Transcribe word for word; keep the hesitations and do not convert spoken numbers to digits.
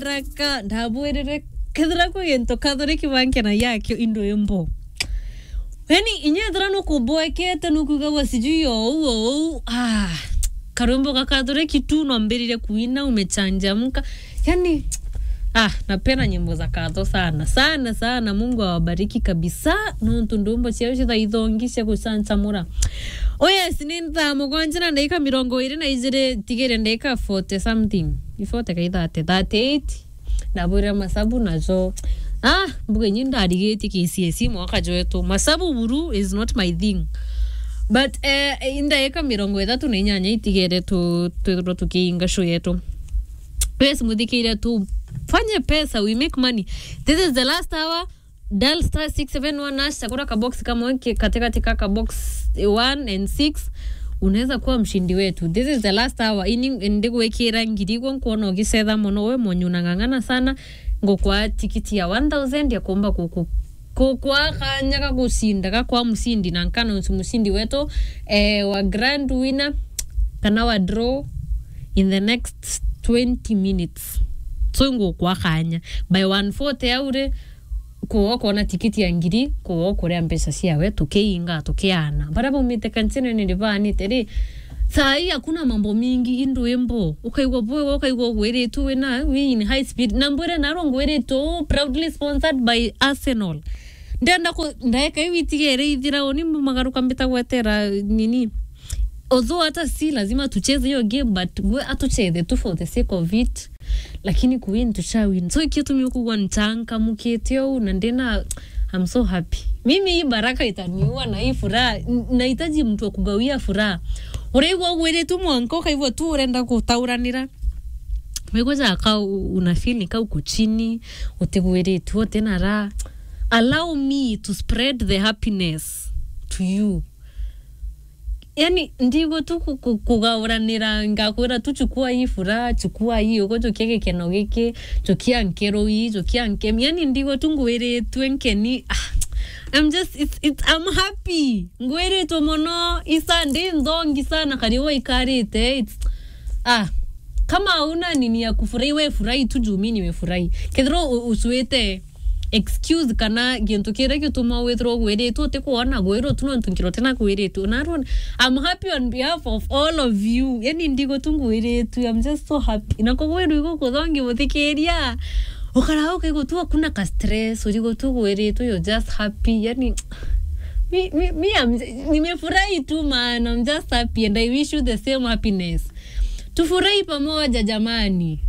Raka, ndabwirire, kethira kwi gintu kathuri kibanke na yakio indu imbo. Yani, inya ethira nukuboekete, nukuigagua sijui o uu, o uu, ah, karwimbo ga kathuri kitu, no mbirire kuina, umechanjamka. Yani, ah, napenda nyimbo za katho sana, sana, sana. Mungu awabariki kabisa, nontu ndumbo ciao cithaithongi cia guchanchamura. Oh yes, ni thaa mugwanja na ndagika mirongo iri na ijiri, tigire ndagika forty something. Ni forty kai thirty, thirty-eight. Ndabwirira masabu najo. Ah, mbuga inyi ndarigitie K C S E mwaka jwetu. Masabu buru is not my thing. But, eh, i ndagika mirongo ithatu na inyanya itigere tu-, twithirwe tukiinga show yetu. Yes, muthikiire, tufanye pesa, we make money. This is the last hour. Dial star six seven one hash, chagura ka box kamwe ki-, katikati ka ka box one and six, unaweza kuwa mshindi wetu. This is the last hour. Ini ndigwikira ngiri igwe, nkuona ugicetha mono, we monyu unang'ang'ana sana. Ngukwa tikiti ya one thousand ya kumba ku-, ku-, kukwa kanya ga gucinda, ga kwa mshindi, na nkana usi mshindi wetu, eh, wa grand winner kana wa draw in the next twenty minutes. So ngukwa kanya by one forty aure, kuwa ukona tikiti ya ngiri, kuwa ukuria mbeca ciawe, tukiinga, tukiana. Baria baumite kanitha ni baanite ri, saa hii hakuna mambo mingi, indu imbo. Ukaigua bwega, ukaigua ugwiritwe wina, we in high speed. Na mbwire narua ngwiritwe uu, proudly sponsored by Arsenal. Ndenda ku-, ndaeka iu itigere ithira, uni mbumagaruka mbita gwetera nini. Although hata si lazima tucheze hiyo game, but we atucheze tu for the sake of it. Lakini kuwin tushawin. So ikio tumio kugwa nchangamukite uu na ndina, I'm so happy. Mimi hii baraka itaniua na hii furaha. N-, nahitaji mtu wa kugawia furaha. Uraigua ugwiritwe mwanka ukaigua tu urenda gutauranira. Waigua jaka u-, una feel ni kau kuchini, utigwiritwe, utina raha. Allow me to spread the happiness to you. Yani, ndigwa tu ku-, ku-, kugauranira, ngakwira tu, chukua hii furaha, chukua hii ugo, chukia gikeno giki, chukia nkero ii, chukia nkemi. Yani, ndigwa tu ngwiritwe nkeni. Ah, I'm just, it's, it's, I'm happy. Ngwiritwe mono, isa ndi nthongi sana, kari uga ikarite. It's, ah, kama hauna nini ya kufurahi, we furahi tu juu mimi nimefurahi. Kethira u-, usuite excuse kana gintu kiria gituma withirwa ugwiritwe, utikwona gwirwo tu nontu nkiro tina kwiritwe. Narua, I'm happy on behalf of all of you. Yani, ndigo tu ngwiritwe, I'm just so happy. Na kugwirwa igukuthongi muthikiria. Ukara ukaigua tu hakuna ka stress, urigo tu ugwiritwe, you're just happy. Yani, mi, mi, mi, I'm, nimefurahi tu, man. I'm just happy and I wish you the same happiness. Tufurahi pamoja, jamani.